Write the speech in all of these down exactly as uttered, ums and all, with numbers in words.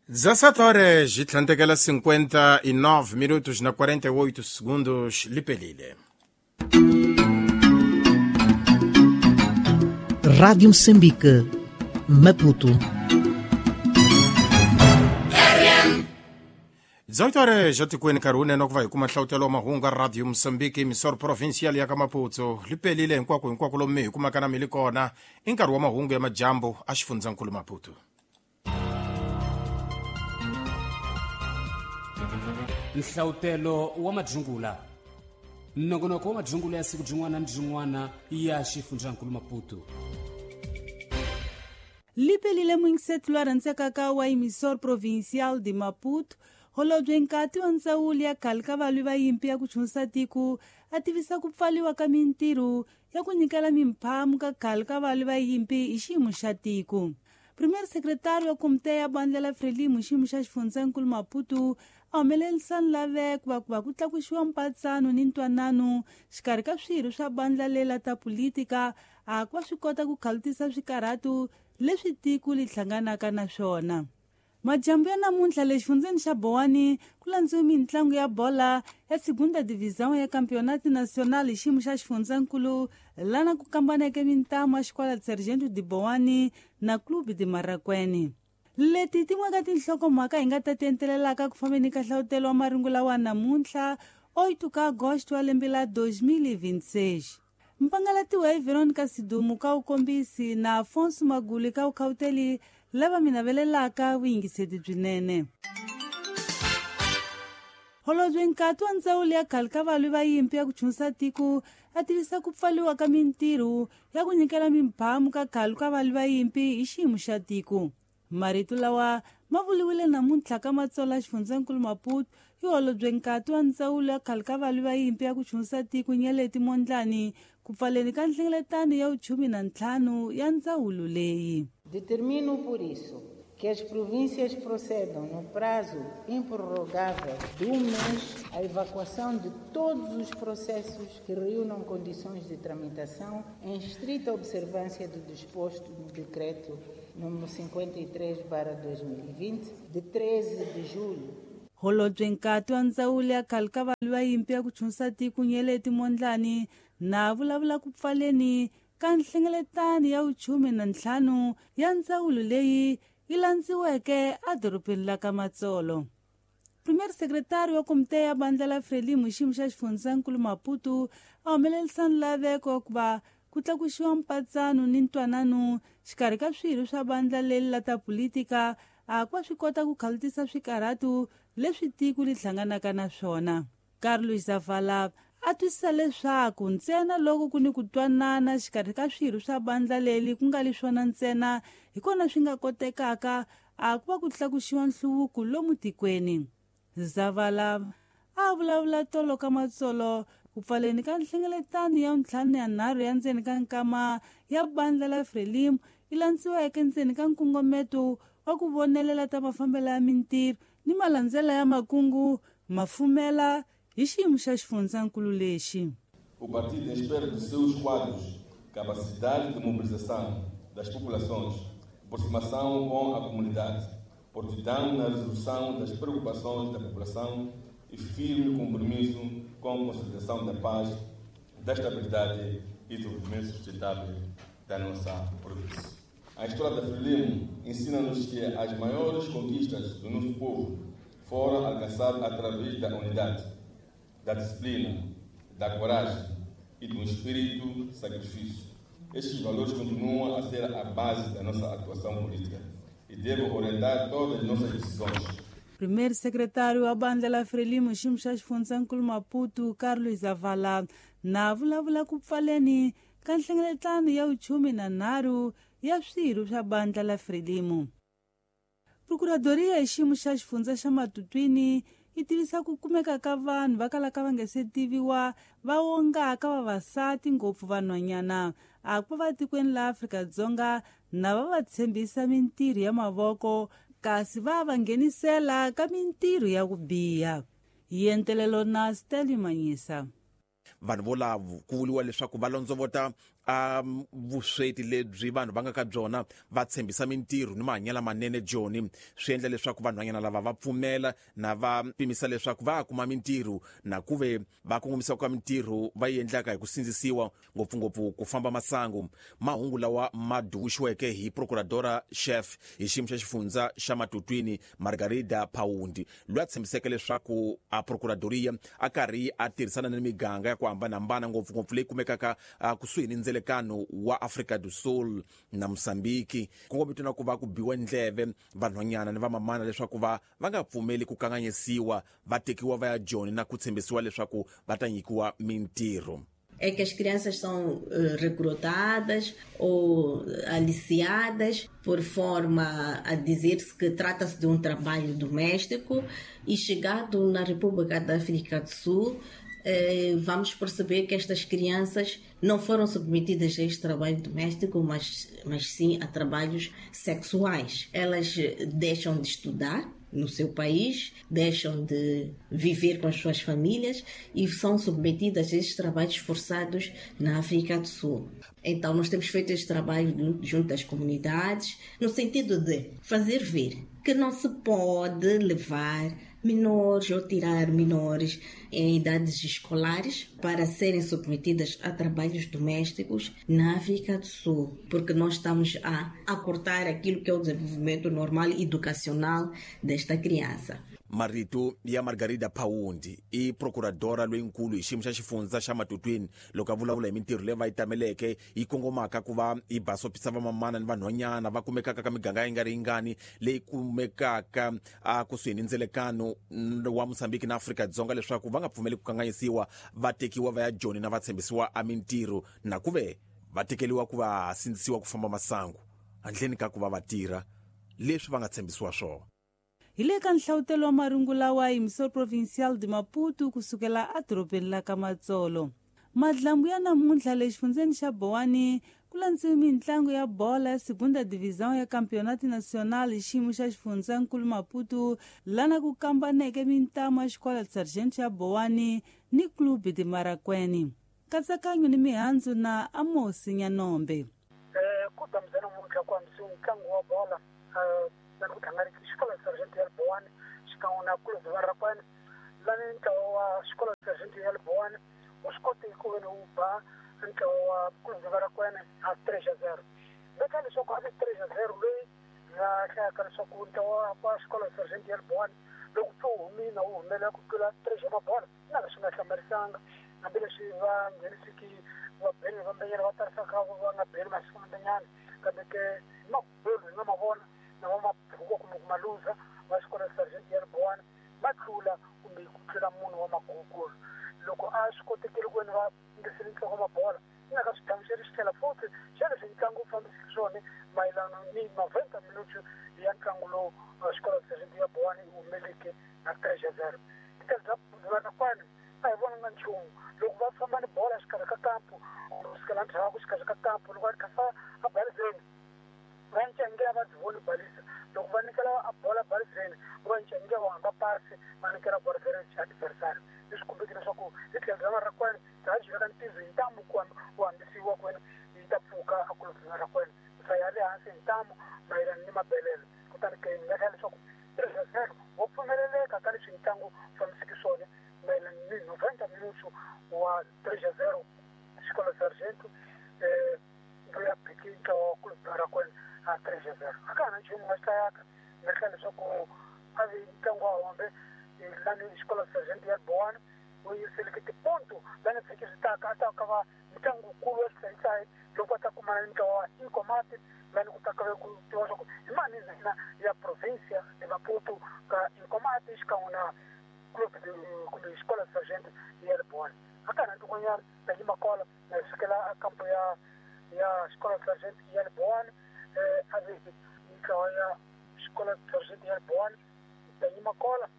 dezessete horas e tlhantekela cinquenta e nove minutos na quarenta e oito segundos lipelile. Rádio Moçambique, Maputo. dezoito horas etikweni nkarhi wunene wa ku va hi kuma nhlawutelo wa mahungu Radio Moçambique emissora provincial ya ka Maputo lipelile hinkwako hinkwako lomu mi hi kumaka na mi li kona i nkarhi wa mahungu ya majambu a xifundzankulu Maputo. Nhlawutelo wa majungula nongonoko wa majungula ya siku jin'wana ni jin'wana ya xifundzankulu Maputo. Lipelile mwingisetu lwa rhandzekaka wa emissora provincial de Maputo holobye nkati wa ndzawulo ya khale ka valwi va yimpi ya ku chunisa tiko a tivisa ku pfaliwa ka mintirho ya ku nyikela mimphamu ka khale ka valwi va yimpi hi xiyimo xa tiko. Primeiro secretário wa komite ya bandla la Frelimo xiyimo xa xifundzankulu Maputo a humelerisa nlaveko va ku va ku tlakusiwa mpatsano ni ntwanano xikarhi ka swirho swa bandla lela ta politika a ku va swi kota ku khalutisa swikarhatu leswi tiko li hlanganaka na swona. Majambu ya namuntlha le xifundzeni xa Bowani ku landziwe mintlangu ya bola ya segunda divisão ya Campeonato Nacional hi xiyimo xa xifundzankulu lana ku kambaneke mintamu ya xikwala Sargento de Bowani na Clube de Marakwene. Leti tin'we ka tinhlokomhaka hi nga ta ti entelelaka ku fambeni ka nhlawutelo wa marungula wa namuntlha oito ka agosto wa lembe la dois mil e vinte e seis. Mpangalatiwa hi Veronica Sidumu ka ukombisi na Afonso Maguli ka ukhauteli lava mi navelelaka vuyingiseti byinene. Holobye nkati wa ndzawulo ya khale ka valwi va yimpi ya ku chunisa tiko a tivisa ku pfaliwa ka mintirho ya ku nyikela mimphamu ka khale ka valwi va yimpi hi xiyimo xa tiko. Marito lawa ma vuriwile namuntlha ka Matsolo ya xifundzankulu Maputo hi holobye nkati wa ndzawulo ya khale ka valwi va yimpi ya ku chunisa tiko Nyeleti Mondlane ku pfaleni ka nhlengeletano ya vuchumi na ntlhanu ya ndzawulo leyi. Determino por isso que as províncias procedam no prazo improrrogável de um mês à evacuação de todos os processos que reúnam condições de tramitação em estrita observância do disposto no decreto número cinquenta e três barra dois mil e vinte, de treze de julho. Holobye nkati wa ndzawulo ya khale ka valwi va yimpi ya ku chunisa tiko Nyeleti Mondlane na vulavula ku pfaleni ka nhlengeletano ya vuchumi na ntlhanu ya ndzawulo leyi yi landziweke edorobeni la ka Matsolo. Primeiro secretário wa komite ya bandla la Frelimo xiyimo xa xifundzankulu Maputo a humelerisa nlaveko wa ku va ku tlakusiwa mpatsano ni ntwanano xikarhi ka swirho swa bandla leri la ta politika a ku va swi kota ku khalutisa swikarhatu leswi tiko li hlanganaka na swona. Carlos Zavala a twisisa leswaku ntsena loko ku ni ku twanana xikarhi ka swirho swa bandla leri ku nga li swona ntsena hi kona swi nga kotekaka a ku va ku tlakusiwa nhluvuko lomu tikweni. Zavala a vulavula tolo ka Matsolo ku pfaleni ka nhlengeletano ya ntlhanu ya nharhu ya ndzeni ka nkama ya bandla la Frelimo yi landziweke ndzeni ka nkongometo wa ku vonelela ta mafambelo ya mintirho ni malandzela ya makungu mafumela hi xiyimo xa xifundzankulu lexi. O partido espera dos seus quadros capacidade de mobilização das populações, aproximação com a comunidade, prontidão na resolução das preocupações da população e firme compromisso com a consolidação da paz, da estabilidade e desenvolvimento sustentável da nossa província. A história da Frelimo ensina-nos que as maiores conquistas do nosso povo foram alcançadas através da unidade, da disciplina, da coragem e do espírito de sacrifício. Estes valores continuam a ser a base da nossa atuação política e devem orientar todas as nossas decisões. Primeiro secretário wa bandla la Frelimo xiyimo xa xifundzankulu Maputo Carlos Zavala na vulavula ku pfaleni ka nhlengeletano ya vuchumi na nharhu ya swirho swa bandla la Frelimo. Procuradoria hi xiyimo xa xifundza xa Matutwini yi tivisa ku kumeka ka vanhu va kalaka va nga se tiviwa va wongaka vavasati ngopfu vanhwanyana a ku va tikweni la Afrika-Dzonga na va va tshembisa mintirho ya mavoko kasi va va nghenisela ka mintirho ya ku biha. Hi entelelo na Stanley Manyisa. Vanhu volavo ku vuriwa leswaku va londzovota a vusweti lebyi vanhu va nga ka byona va tshembisa mintirho ni mahanyelo manene joni swi endla leswaku vanhwanyana lava va pfumela na va pimisa leswaku va kuma mintirho na kuve va kongomisa ka mintirho va yi endlaka hi ku sindzisiwa ngopfungopfu ku famba masangu. Mahungu lawa ma duvuxiweke hi procuradora chef hi xiyimo xa xifundza xa Matutwini Margarida Paundi loyi a tshembiseke leswaku a procuradoria a karhi a tirhisana ni miganga ya ku hambanahambana ngopfungopfu leyi kumekaka kusuhi ni ndzelekano wa Afrika do Sul na Mozambique kongomito na ku va ku biwa ndleve vanhwanyana ni vamamana leswaku va va nga pfumeli ku kanganyisiwa va tekiwa va ya joni na ku tshembisiwa leswaku va ta nyikiwa mintirho. É que as crianças são recrutadas ou aliciadas por forma a dizer-se que trata-se de um trabalho doméstico e chegado na República da África do Sul, eh, vamos perceber que estas crianças não foram submetidas a este trabalho doméstico, mas, mas sim a trabalhos sexuais. Elas deixam de estudar no seu país, deixam de viver com as suas famílias e são submetidas a estes trabalhos forçados na África do Sul. Então, nós temos feito este trabalho junto às comunidades, no sentido de fazer ver que não se pode levar menores ou tirar menores em idades escolares para serem submetidas a trabalhos domésticos na África do Sul, porque nós estamos a acortar aquilo que é o desenvolvimento normal educacional desta criança. Marito ya Margarida Paundi i procuradora loyinkulu hi xiyimo xa xifundza xa Matutwini loko a vulavula hi mintirho leyi va yi tameleke yi kongomaka ku va yi basopisa vamamana ni vanhwanyana va kumekaka ka miganga yi nga ri yingani leyi kumekaka a kusuhi ni ndzelekano wa Mozambique na Afrika-Dzonga leswaku va nga pfumeli ku kanganyisiwa va tekiwa va ya joni na va tshembisiwa a mintirho na ku ve va tekeriwa ku va sindzisiwa ku famba masangu handleni ka ku va va tirha leswi va nga tshembisiwa swona. Hi le ka nhlawutelo wa marungu lawa hi Emissor Provincial de Maputo kusukela edorobeni la ka Matsolo. Madlambu ya namuntlha le xifundzeni xa Bowani ku landziwe mintlangu ya bola ya Segunda Divisão ya Campeonato Nacional hi xiyimo xa xifundzankulu Maputo lana ku kambaneke mintamu ya xikola Sargento ya Bowani ni Clube de Marakwene. Katsakanyo ni mihandzu na Amosi Nyanombe. Ku damza namuntlha ku hambisiwe ntlangu wa bola na ku tlanga xikolo Sargento ya Bowani xikan'we na Clube de Marakwene lani ntlawa wa xikolo Sargento ya Bowani u swi kote ku veni wu ba ntlawa wa Clube de Marakwene a three a zero. Veka leswaku a vi three a zero leyi nga hlayaka leswaku ntlawa wa xikolo Sargento ya Bowani loko pfe wu humile wu humelela ku tlula three xa mabola na leswi nga hlamarisanga hambileswi va nghenisiki va beli vambenyana va tarisaka va nga beli masiku mambenyana kambe ke hi mabolo hi nga ma vona na va mabhuku kumbe ku maluza va xikolo Sargento ya Bowani va tlula kumbe ku tlula munhu wa magugulu loko a swi kotekile ku veni va ngisile ntloko mabola yi nga ka swi hlamuseri xi tlhela futhi xa leswi ntlangu wu fambiseke swona mayelana ni noventa minutes ya ntlangu lowu xikolo Sargento ya Bowani yi humeleke na three a zero. Titele bya Marakwene a hi vonanga nchumu loko va famba ni bola xikarhi ka kampu kusukela ndzhaku xikarhi ka kampu loko va ri kha a balizeni va ncengela va byi voni balisa loko va nyikela a bola balizeni va ncengela va hamba pasi va nyikela bola adversary leswi kombeke leswaku hi tlhelo ra Marakwene bya byi veka ntizo hi ntamu ku ku hambisiwa ku wena yi ta pfuka a Clube de Marakwene sa ya le hansi hi ntamu mayelana ni mabelelo kutani ke ni nga hlaya leswaku three a zero wo pfumeleleka ka leswi ntlangu fambiseke swona mayelana ni noventa minutes wa three a zero xikolo Sargento eh ya phiki ntlawa wa Clube de Marakwene a three a zero. A ka ha na nchumu nga xi hlayaka ni hlaya leswaku a vi ntlangu wa hombe lani xikolo Sargento ya Bowani wu yiseleke tiponto lani vhiki swi taka a ta ka va ntlangu wukulu wa xisayisayi loko va ta kumana ni ntlawa wa Inkomati lani ku ta ka ku tiva swa ku hi mani ndzhina ya provincia de Maputo ka Inkomati xikan'we na Clube kumbe xikolo Sargento ya Bowani. A ka ha na ntikonyana ta yima kola na sukela a kampo ya ya xikolo Sargento ya Bowani a vi ntlawa ya xikolo Sargento ya Bowani ta yima kola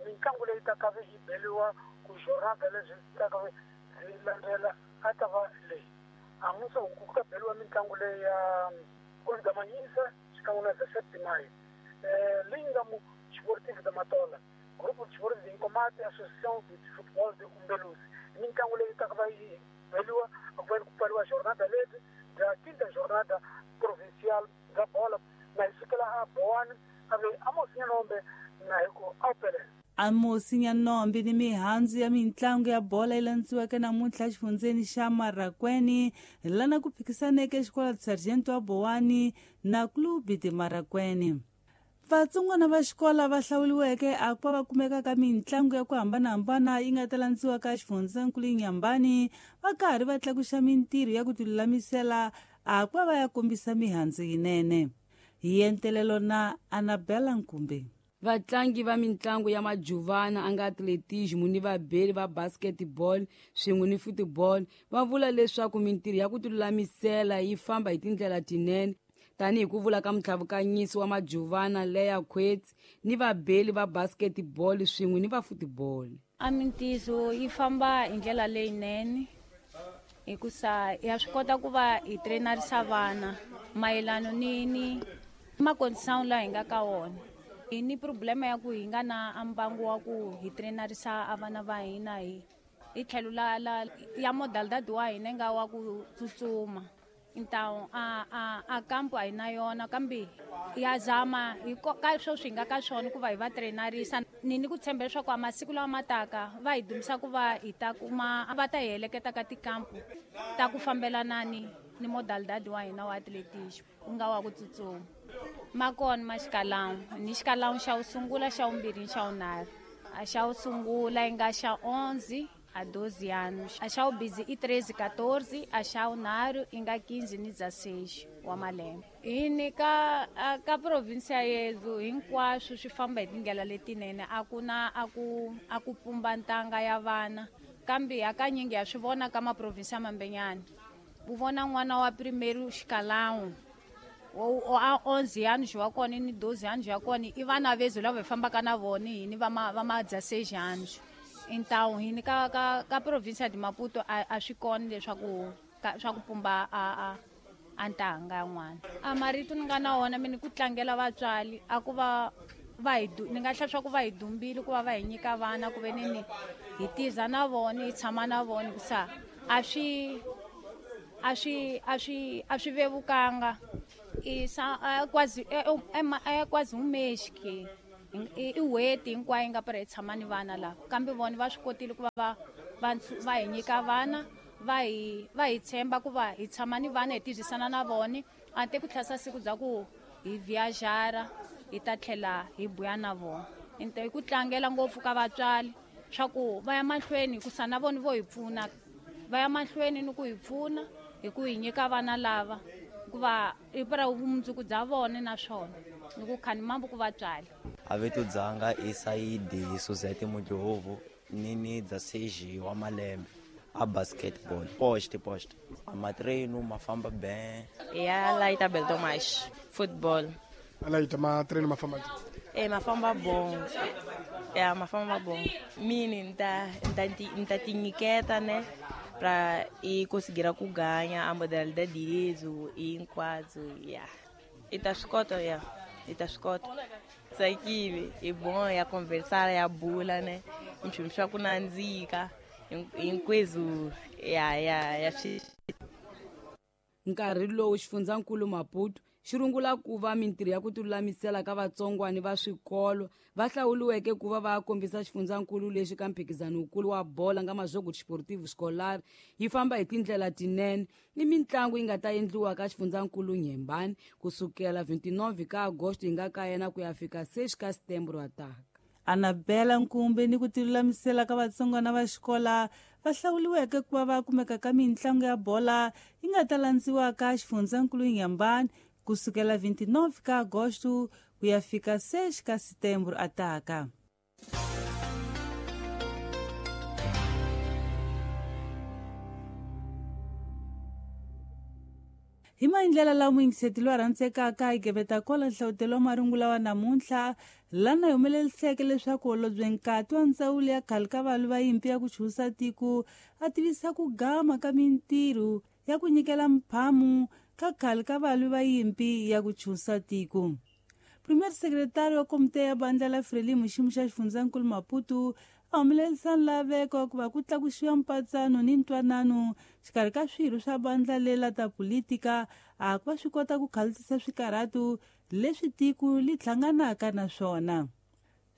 mintlangu leyi taka yi beliwa ku jornada leswi taka byi landzela a ta va leyi amusa ku ka beliwa mitlangu leyi ya Clube da Manhisa xikan'we na dezessete de maio leyi nga mu Esportivo da Matola Grupo de Esporte de Inkomati Associação de Futebol de Umbeluzi. Mitlangu leyi taka va yi veliwa ku va ku pfariwa jornada leti bya quinta jornada provincial bya bola na hi sukela a Bowani a ve Amos Nyanombe na hi ku awupele. Amos Nyanombe ni mihandzu ya mitlangu ya bola yi landziweke namuntlha exifundzeni xa Marracuene lana ku phikisaneke xikolo Sargento wa Bowani na Clube de Marracuene. Vatsongwana va xikola va hlawuriweke a ku va kumeka ka mitlangu ya ku hambanahambana yi nga ta landziwa ka xifundzankulu Inhambane va karhi va tlakuxa mintirho ya ku tilulamisela a ku va ya kombisa mihandzu yinene. Hi entelelo na Annabella Nkumbe. Vatlangi va mitlangu ya majuvana a nga atletismo ni vabeli va basketball swin'we ni football va vula leswaku mintirho ya ku tilulamisela yi famba hi tindlela tinene tanihi ku vula ka mutlhavukanyisi wa majuvana Leya Khwetsi ni vabeli va basketball swin'we ni va football. A mintirho yi famba hi ndlela leyinene hikusa ya swi kota ku va hi trainarisa vana mayelana ni ni makondition laha hi nga ka wona. Hi ni problema ya ku hi nga na mbangu wa ku hi trainarisa a vana va hina hi hi tlhelo la la ya modalidade wa hina nga wa ku tsutsuma. Então a a a kampo a hi na yona kambe ya zama hi ka sweswi hi nga ka swona ku va hi va trainarisa ni ni ku tshemba leswaku a masiku lawa ma taka va hi dumisa ku va hi ta kuma va ta hi heleketa ka tikampo ta ku fambelana ni ni modalidade wa hina wa atletismo ku nga wa ku tsutsuma. Ma kona ma xikalawu ni xikalawu xa wu sungula xa wumbirhi xa wunharhu a xa wu sungula yi nga xa onze a doze anos a xa wubizi i treze quatorze a xa wunharhu i nga quinze ni dezesseis wa malembe. Hi ni ka ka provinsia yedu hinkwaswo swi famba hi tindlela letinene a ku na a ku a ku pumba ntanga ya vana kambe hakanyingi ya swi vona ka maprovinsia mambenyana u vona n'wana wa primeiro xikalawu o a onze anos wa kona ni doze anos ya kona i vana vezo lava hi fambaka na vona hini va ma va ma dezesseis anos. Então hini ka ka ka província de Maputo a, a swi kona leswaku swa ku pumba a a a ntanga ya n'wana. A marito ni nga na wona mina ku tlangela vatswari a ku va va hi ni nga hlaya swa ku va hi dumbile ku va va hi nyika vana ku ve ni ni hi tiza na vona hi tshama na vona hikusa a swi a swi a swi a swi vevukanga i sa quase é é quase um mês que i n'hweti hinkwayo yi nga pera hi tshama ni vana lava kambe vona va swi kotile ku va va va va hi nyika vana va hi va hi tshemba ku va hi tshama ni vana hi tirhisana na vona a te ku tlhasa siku bya ku hi viajara hi ta tlhela hi buya na vona. Into hi ku tlangela ngopfu ka vatswari swa ku va ya mahlweni hikusa na vona vo hi pfuna va ya mahlweni ni ku hi pfuna hi ku hi nyika vana lava hikuva i pera vumundzuku bya vona naswona ni ku khani mambo ku vatswari. A vito dzanga i Saidi Suzette Mudyovo ni ni dezesseis wa malembe a basketball post post a matreino ma famba bem ya Laita Beltomas football. Laita matreino ma famba e ma famba bom ya ma famba bom mini nta nta nta tinyiketa né pra e conseguir a ganhar a modalidade direito e hinkwaswo ya e ta swi kota ya e ta swi kota tsakile i bom ya conversar ya bula né nchumu swa ku nandzika hinkweswo ya ya ya swi. Nkarhi lowu xifundzankulu Maputo xi rungula ku va mintirho ya ku tilulamisela ka vatsongwani va swikolo va hlawuriweke ku va va kombisa xifundzankulu lexi ka mphikizano wukulu wa bola nga Majogo Desportivo Escolar yi famba hi tindlela tinene ni mitlangu yi nga ta endliwa ka xifundzankulu Inhambane kusukela vinte e nove ka Agosto yi nga ka yena ku ya fika seis ka Setembro ataka. Annabella Nkumbe ni ku tilulamisela ka vatsongwana va xikola va hlawuriweke ku va va kumeka ka mitlangu ya bola yi nga ta landziwa ka xifundzankulu Inhambane kusukela vinte e nove ka Agosto ku ya fika seis ka Setembro ataka. Hi maendlela lawa muyingiseti loyi a rhandzekaka hi geveta kwala nhlawutelo wa marungula wa namuntlha lana hi humeleliseke leswaku holobye nkati wa ndzawulo ya khale ka valwi va yimpi ya ku chusa tiko a tivisa ku gama ka mintirho ya ku nyikela mphamu ka khale ka valwi va yimpi ya ku chusa tiko. Premier secretario wa komite ya bandla la Frelimo xiyimo xa xifundzankulu Maputo a humelerisa nlaveko ku va ku tlakusiwa mpatsano ni ntwanano xikarhi ka swirho swa vandla lela ta politika a ku va swi kota ku khalisisa swikarhatu leswi tiko li hlanganaka na swona.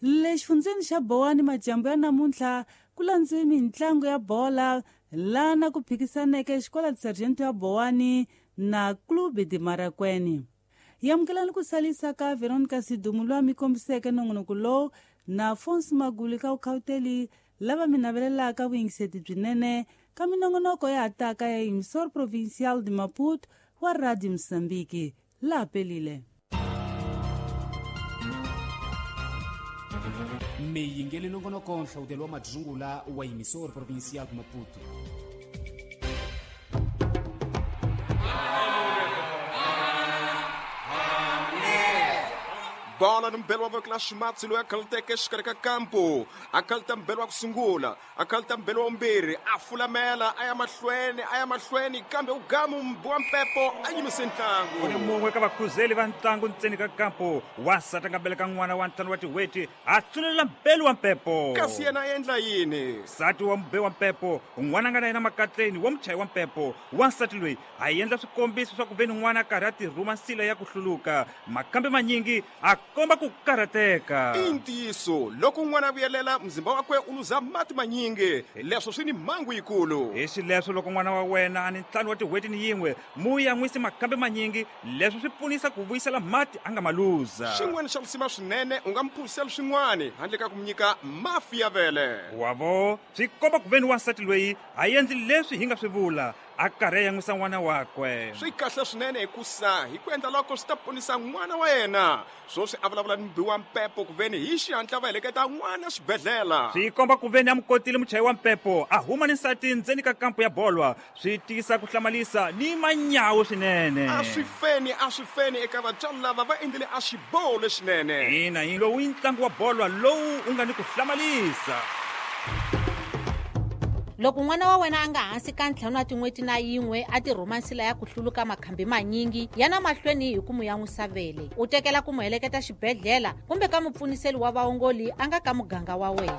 Le xifundzeni xa Bowani majambu ya namuntlha ku landziwe mintlangu ya bola lana ku phikisaneke xikola Sergeant ya Bowani na Clube de Marakwene. Yamukelani ku salisa ka Veronica Sidumu loyi a mi kombiseke nongonoko lowu na Afonso Maguli ka Ukhauteli lava mi navelelaka vuyingiseti byinene ka minongonoko ya hataka ya Emissor Provincial de Maputo wa Radio Mozambique. La pelile. Miyingeli nongonoko nhlawutelo wa madzungula wa Emissor Provincial de Maputo. Bola ni mbelo wa voko la ximatsi loyi a khaluteke exikarhi ka kampo a khaluta mbelo wa ku sungula a khaluta mbelo wa vumbirhi a fulamela a ya mahlweni a ya mahlweni kambe u gamu wa mpepo a yimise ntlangu. U ni mun'we ka vakhuzeli va ntlangu ntseni ka kampo wansati a nga beleka n'wana wa ntlhanu wa tin'hweti a tsunelela mbelo wa mpepo kasi yena a endla yini nsati wa mube wa mpepo n'wana a nga na yena makatleni wa muchayi wa mpepo wansati loyi a endla swikombiso swa ku ve ni n'wana a karhi a tirhuma nsila ya ku hluluka makambe manyingi a komba ku karhateka. I ntiyiso loko n'wana a vuyelela mzimba wakwe u luza mati manyingi leswo swi ni mhangu yikulu. Hi xileswo loko n'wana wa wena a ni ntlhanu wa tin'hweti ni yin'we mu yan'wisi makambe manyingi leswo swi pfunisa ku vuyisela mati a nga ma luza. Xin'wana xa risima swinene u nga mphuzisela swin'wana handle ka ku mu nyika mafi ya vele. Wavo swi komba ku ve ni wansati loyi a endli leswi hi nga swi vula a karhi a yan'wisa n'wana wakwe. Swi kahle swinene hikusa hi ku endla loko swi ta ponisa n'wana wa yena. Swoswi a vulavula ni mubi wa mpepo ku veni hi xihatla va heleketa n'wana xibedhlele. Swi komba ku veni a mu kotile muchayi wa mpepo a huma ni nsati ndzeni ka kampo ya bolwa swi tiyisa ku hlamalisa ni manyawu swinene. A swi feni a swi feni eka vatswari lava va endlile a xiboho lexinene. Ina yi lowu i ntlangu wa bolwa lowu u nga ni ku hlamalisa. Loko n'wana wa wena a nga hansi ka ntlhanu wa tin'hweti na yin'we a tirhuma nsila ya ku hluluka makhambi manyingi yana mahlweni hi ku mu yan'wisa vele u tekela ku mu heleketa xibedhlele kumbe ka mupfuniseli wa vaongoli a nga ka muganga wa wena.